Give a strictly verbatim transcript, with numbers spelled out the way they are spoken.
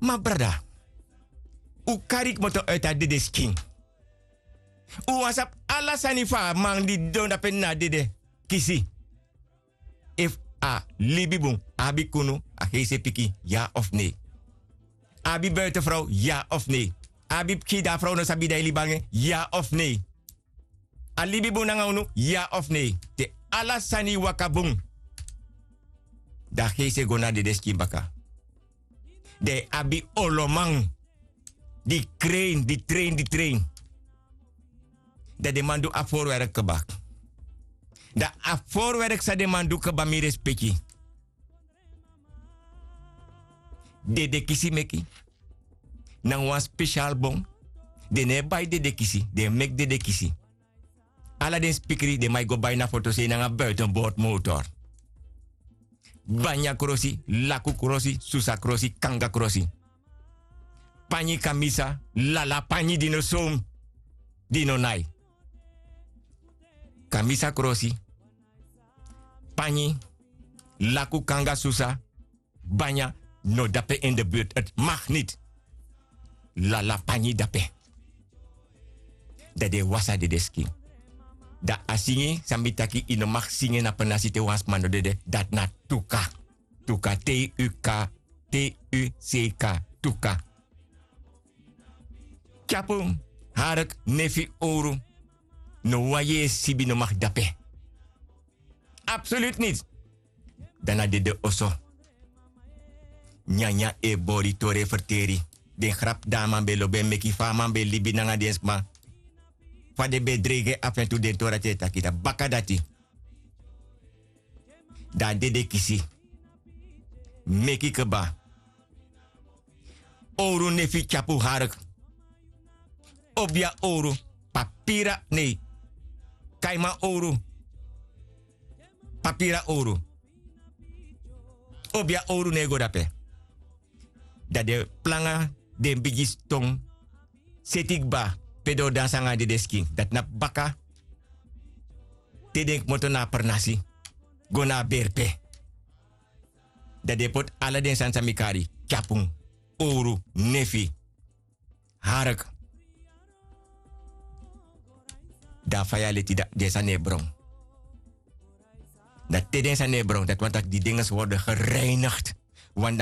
Ma brada, un kari kmoto uiti a dedeskin. Un wani sabi ala sani fu a man di didon dape na a dede kisi. Efu a libi bun, a abi kunu, a heisi e piki, ya of nei? A abi buitenfrow, ya of nei? A abi pikin di a frow no sabi di a e libi nanga en, ya of nei? A libi bun nanga unu, ya of nei? Te ala sani waka bun, dan a heisi e go na a dedeskin baka. Dan yu abi oloman di krein, di trein, di trein. Dan den man du a forwerk kba. Dan a forwerk san den man du kba, mi respeki. Dedekisi meki. Nanga wan spesial bon. Den no e bai dedekisi, den e meki dedekisi. Ala den spikri den man e go bai na fotosei nanga buitenboordmotor. Banya krosi, laku krosi, susa krosi, kanga krosi. Panyi kamisa, lala panyi di no sown, di no nai. Kamisa krosi, panyi, laku, kanga, susa, banya, no dape in de buurt. Het mag niet. Lala panyi dape. Dan den e wasi a dedeskin. Dan a singi san mi taki yu no mag singi na pernasi te wan sma no dede, dati na tuka. Tuka, T U K, T U C K, tuka. Tyapu, hark, nefi, owru. No wan yeye sibi no mag dape. Absoluut niet. Dan na dede oso. Nyanyan e bori, tori e ferteri. Den grap di a man ben lobi e meki, fa a man ben libi nanga den sma, fa den ben dreigi en afu en tu, den tori dati e taki. Dan baka dati, dan a dedekisi meki kba. Owru, nefi, tyapu, hark. Obia owru, papira, nei. Kaiman owru, papira owru. Obia owru no e go dape. Dan den planga den bigi ston, seti kba pe den o dansi nanga a dedeskin. Dati na baka, te den kmoto na a pernasi go na a berpe. Dan den poti ala den sani san mi kari: tyapu, owru, nefi, hark. Dan a faya leti, dan den sani e bron. Dan te den sani e bron, dati wani taki di dinges worden gereinigd. Want dan